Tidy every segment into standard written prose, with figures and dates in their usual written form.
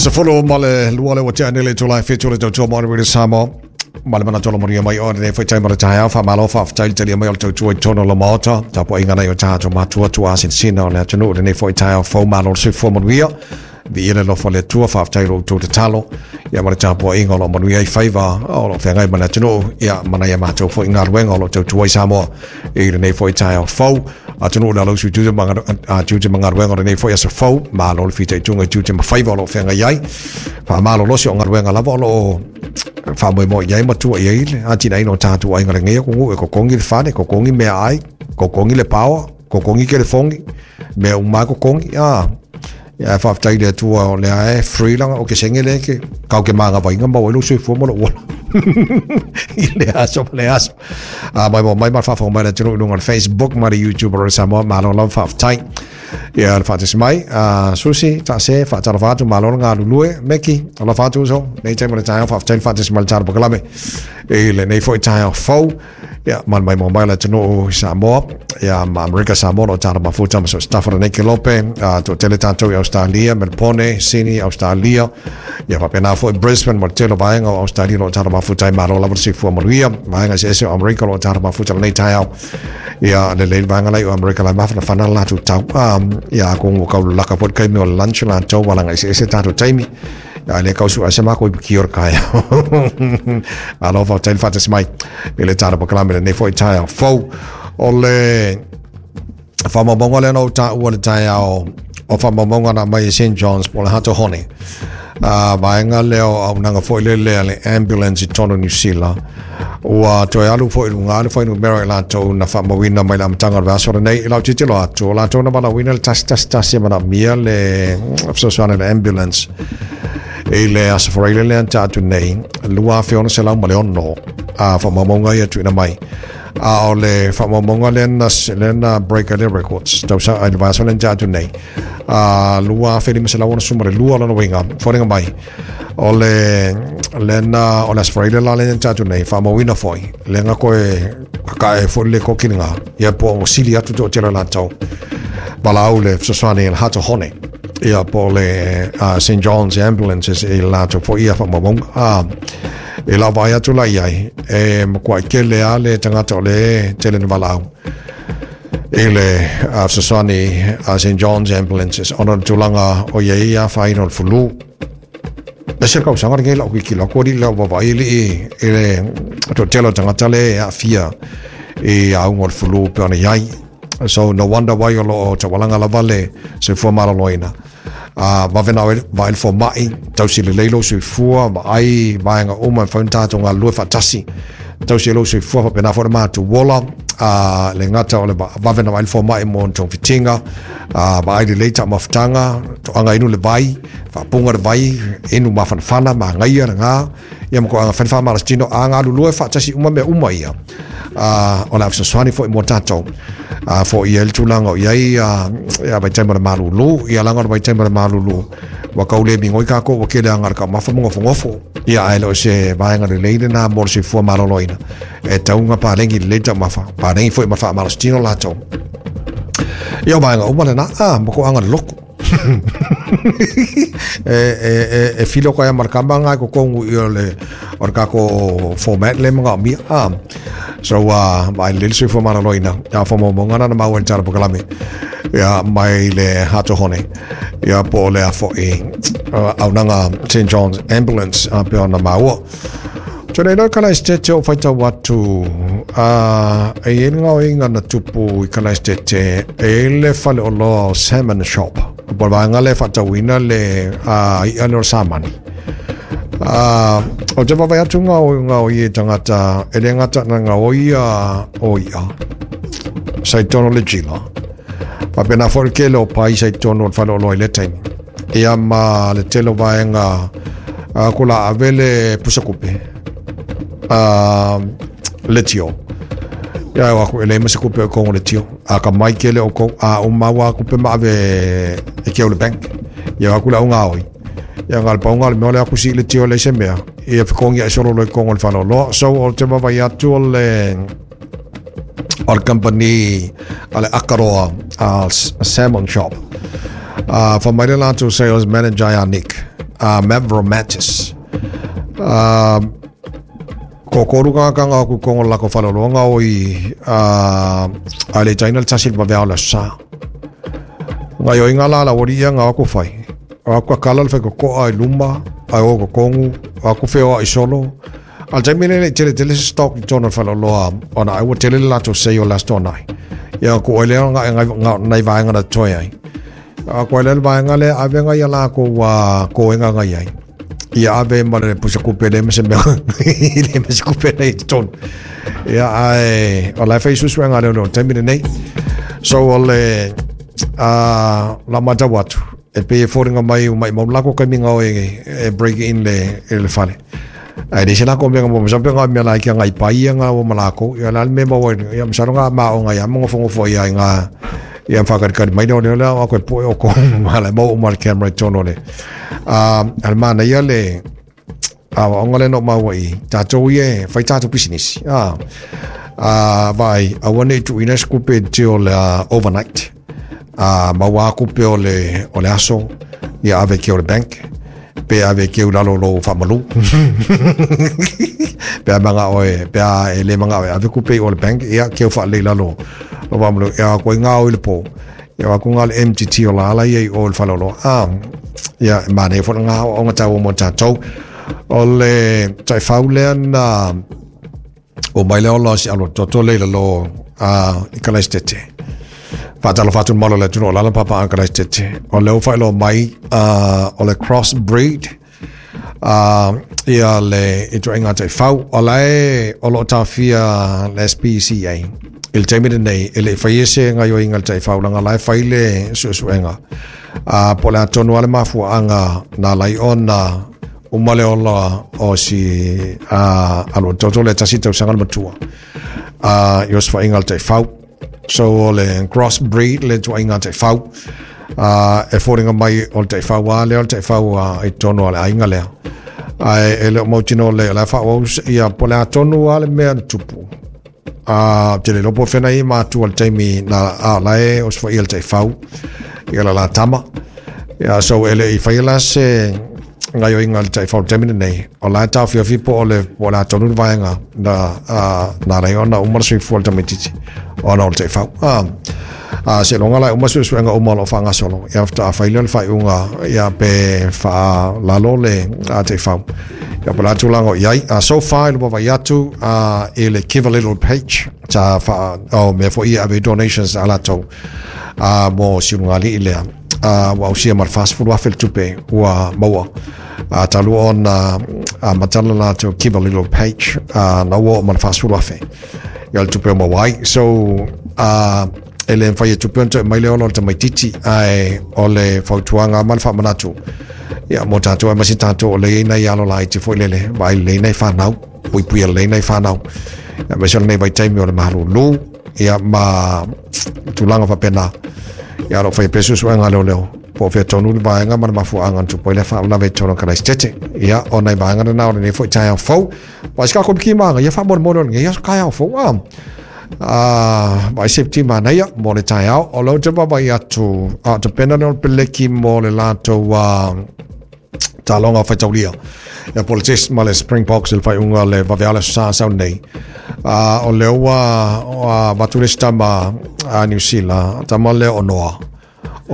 12 le ua tea nei le itula e 7 o le tautua mo le Radio Samoa. Ma le manatu o le manuia mai o lenei foi taimi o le taeao. Faamalo faafetai le talia mai o le tautua i totonu o le Maota. Tapuaiga nai o tatou matua tuasinsina o le atunuu i lenei foi taeao fou. Malo le soifua manuia. Viia le alofa o le Atua, faafetai i lo outou tatalo, ia ma le tapuaiga o lo o manuia ai faiva o lo o feagai ma le atunuu, ia ma nai a matou foi galuega o lo o tautua ai Samoa i lenei foi taeao fou. Atunuu le alausu i tiute ma, tiute ma galuega o lenei foi aso fou, malo le fitaituga i tiute ma faiva o lo o feagai ai. Faamalolosi o galuega lava o lo o faamoemoe i ai ma tua i ai le atinaeina o tatou aiga lenei atunuu e totogi le fale, totogi meaai, totogi le paoa, totogi telefoni, mea uma lava totogi. Ah, Ia faafetai i le Atua o lea e free langa o ke senge le ke kau ke magavainga maua ai lou soifua ma lou ola i le aso ma le aso. A mai mo mai ma faafofoga mai le atunuu i luga o le Facebook ma le YouTube o le Samoa, malo lava faafetai. Ia le faatasi mai, a Susi, taase, faatalofa atu, malo le galulue, Meki, alofa atu uso, nei taimi o le taeao, faafetai le faatasi mai le tala pakalame i lenei foi taeao fou. Ia, ma le maimoa mai o le atunuu i Samoa, ia, ma Amerika Samoa, o lo o tala mafuta ma so o se tafa lenei kelope, a toatele tatou i Australia, Melbourne, Sydney, Australia, ia faapena foi Brisbane ma le tele o vaega o Australia o lo o tala mafuta ai, malo lava le soifua manuia, vaega eseese o Amerika o lo o tala mafuta lenei taeao, ia, lelei le vaega la i o Amerika la e mafanafana le latou tau, a, ia, atonu ua tau lalaka foi le taimi o le lunch latou, alaga eseese tatou taimi, Ia le kau sua se mako i ki ora kai. Alofa faafetai le faatasi mai i le tala pakalame lenei foi taeao fou. O le faamaumauga lea na ou taua le taeao o faamaumauga na aumai e St. John's po o le Hato Hone. A vaega lea o auaunaga foi lele a le ambulance i totonu o Niu Sila. Ua toe alu foi i luga le fuainumera i latou na faamauina mai le amataga o le vaiaso lenei. I lau tilotilo atu, o latou na valaauina le 111 e manaomia le fesoasoani a le ambulance i le Aso Faraile lea na tea atu nei, 2606 a faamaumauga ia tuuina mai. A o le faamaumauga lea na, lea na break ai le records tausa, i le vaiaso lea na tea atu nei, a 2562 lona uiga, foliga mai O le lena o le Aso Faraile la lena atu nei, faamauina foi, le nga koe kakae foi le koki nga, ia po o sili atu to tele latou. Valaau le fesoasoani le Hato Hone, ia po le St. John's Ambulances i latou foi ia faamaumauga. E lau vaai atu la i ai, e makuai tele a le tagata o le tele na valaau i le fesoasoani a St. John's Ambulances ona o le tulaga o i ai ia afaina o le fulu. E se tausaga lenei lau tilotilo atu alii lau vaavaai alii i le toatele o tagata le e aafia i auga o le flu pei ona i ai. So no wonder why o lo o taualaga lava le soifua maloloina. A vave na oe vaai le fomai, tausi lelei lou soifua, vaai vaega uma e mafai ona tatou galulue faatasi. Tausi ai lou soifua faapena foi le matou ola, a le gata o le vave na vaai le fomai mo togafitiga, a vaai lelei taumafataga, toaga inu le vai, faapuga le vai, inu mafanafana, manaia lena, ia ma toaga fai le faamalositino, a galulue faatasi uma mea uma ia, a o le a fesoasoani foi mo tatou, a foia ai le tulaga o i ai a, ia vaitaimi o le malulu, ia leaga o le vaitaimi o le malulu, ua tau le migoi tatou ua tele aga le taumafa ma nofonofo, ia ae le o se vaega lelei lena mo le soifua maloloina, e tatau ona paleni lelei taumafa, paleni foi ma faamalositino latou. Ia o vaega uma lena, a, ma toaga le lotu. E filo koe ma le kama nga ko kongu i o le o le kako format le mga mia. So mai le soifua maloloina ia faamaumauga na na maua i le tala pakalame ia mai le Hato Hone ia po o le a foi auaunaga St John's Ambulance a pei ona maua. Tō nei rau Kalaistete o whaitau atu, a, e i ai le ngaoiga na tupu i Kalaistete, e i ai le fale oloa o Salmon Shop. Po o le vaega lea e faatauina le a, i'a lea o le samani. A, o te vaavaai atu ngao, ngaoi e tagata, e le gata na ngaoi a o i'a, sa i tonu o le jila. Faapena foi le tele o pai sa i tonu o le fale oloa i lea taimi. Ia ma le tele o vaega a ko la ave le pusa kupe a le tio. Ia o aku ele ma se kupe o kongo le tio. A ka mai kele o ko a o maua kupe ma ave e ke o le bank. Ia aku la unga oi. Ia ngal pa unga le mea le aku si le tio le se mea. Ia fikongi ai solo lo kongo le falo loa. So o te vavai atu o le o le company a le Akaroa a Salmon Shop. Fa mai le latou sales manager ia Nick. Mavromatis. Ko koru kanga ku kongo la ko falologa o i a le taina le tasi le vavea o le sa. Ngai o inga la la ori ia ngā ako whai. O aku kala le whai koa i luma, ai o ko kongu, o aku wheo i solo. Al taimi le tele tele se stock i tōna whaloloa, ona ai ua tele le lato sei o last onai. Ia ko oile o ngā nai vaenga na toi ai. A ko oile le vaenga le avenga ia la ko wa koenga ngai ai. Ia ave ma le pusa kupe le mese mea le mese kupe nei tonu. Ia ai o la fai susu nga le no taimi nei. So o le la mata watu e pe foringa mai mai mo la ko kami nga e break in le le fale. Ai le sena ko menga mo sampe nga me la ki ngai pai nga o malako ia la me mo ia msaro nga ma o nga ia mo fongo fo ia nga ia whakatikari mai leo leo leo ako e poe o ko mala mo o mal camera tono le al mana ia le onga le no maua i tātou ia whai tātou business vai a wane tu ina skupe te o le overnight maua aku pe o le aso ia ave ki o le bank pe ave ki o lalo lo whamalu pe a manga oe pe a e le manga oe ave kupe o le bank ia ki o wha lalo lo wamalu ia koe ngā o i le pō ia ko ngā le MTT o la ala ia i o le whalolo ia mane fo ngā o ngā tau o mo tātou o le tai faulea na o mai le ola si alo toto le lo i kalaistete whātalo whātun malo le tunu o lala papa a kalaistete o leo whailo mai o le crossbreed ia le i tuainga tai fau o lae o lo tawhia le SPCA il taimi nei e le whai ese ngā yo inga le tai fau langa lai whai le suesuenga po le atonu ale mafua anga nā lai ona umale ola o si alo toto le tasi tau sanga le matua i os whainga le tai fau so o le crossbreed le tuainga tai fau e fōringa mai o le tai fau a le o le tai fau i tono ale ainga lea ai e le mautino le la wha o ia po le atonu ale mea tupu te le lopo whena i mātua le taimi na a lae o swa i le tai fau i la tama ia so ele i whai la se ngai o inga le tai fau taimi nei o la tau whiawhi po o le po la tonu vaenga na na rei ona umara sui fua le tamititi o na o le tai fau se longa lai uma suesuega uma o loo faagasolo ia faatafaila le faaiuga ia pe faalalo le taifau ia po le tulaga o iai so far i le vavai atu i le give a little page sa faa o mea foʻi ia ave donations a latou mo siulugalii lea ua ausia ma le 40,000 le tupe ua maua talu ona matala latou give a little page na ua oo ma le 40,000 ia le tupe o maua ai so e le mwhai e tupe onto e mai le ola o le tamaititi ae o le fautuanga ma le whaamanatu ia mo tātou e masi tātou o le nei alo lai te foi lele vai le nei whanau pui pui le nei whanau ia me nei vai taimi o le mahalulu ia ma tulaga whapena ia ro whai pesu suenga leo leo po whea tonu le vaenga ma le mafuanga tupo i le whaulave tono kalaistete ia o nei vaenga na o le nei foi tai au fau wa sika kopi ki maanga ia whaamore more ia kai au fau vai septima nei mo le tai au o lo te vavai atu te pena le peleki mo le latou talonga whaitaulia ia po le test ma le Springboks le whaiunga le vaveala sa sau nei o leo ua vatu le tama a New Zealand tama le o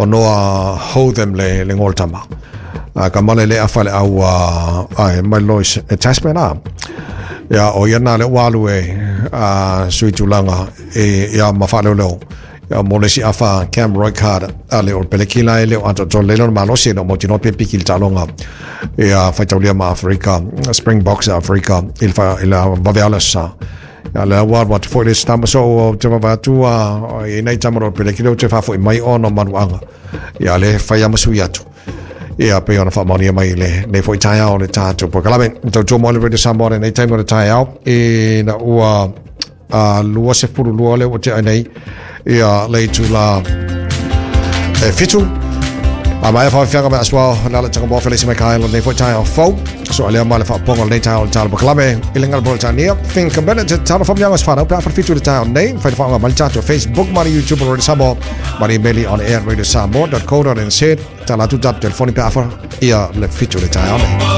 Noa Hotham le ngol tama ka male le awhale au ai mai Lois e Tasman a ia o ia nā le walu e sui tulaga e ia ma whaaleo ia mo le si awha Cam Roycard a le o pelekila e le o anto le lona malosi no mo tino pepi ki le talonga ia whaitaulia ma Afrika Springboks Afrika i le vaveala sa ia le awa watu foi le stama so o te vavatua i nei tamaro pelekila o te whafo i mai ono manuanga ia le whai ama sui atu ia pe ona whaamaunia mai le nei foi tai ao le tātou po kalame tau tō mo le Radio Samoa nei taimi o le tai ao e na ua lua se puru lua le o te ai nei ia le tula e fitu a mai whawhianga mai aswao na le tanga mo felisi mai kai nei foi tai ao fau so alea mai le whaaponga nei tai ao le tālo pakalame i le ngala Britania think about it talo whamnyanga swhanau pe awha fitu le tai ao nei whai whaanga mai tātou Facebook mai YouTube Radio Samoa mai emaili on air radiosamoa.co.nz tala tu tap telefoni pe awha Ia le 7 o le taeao nei.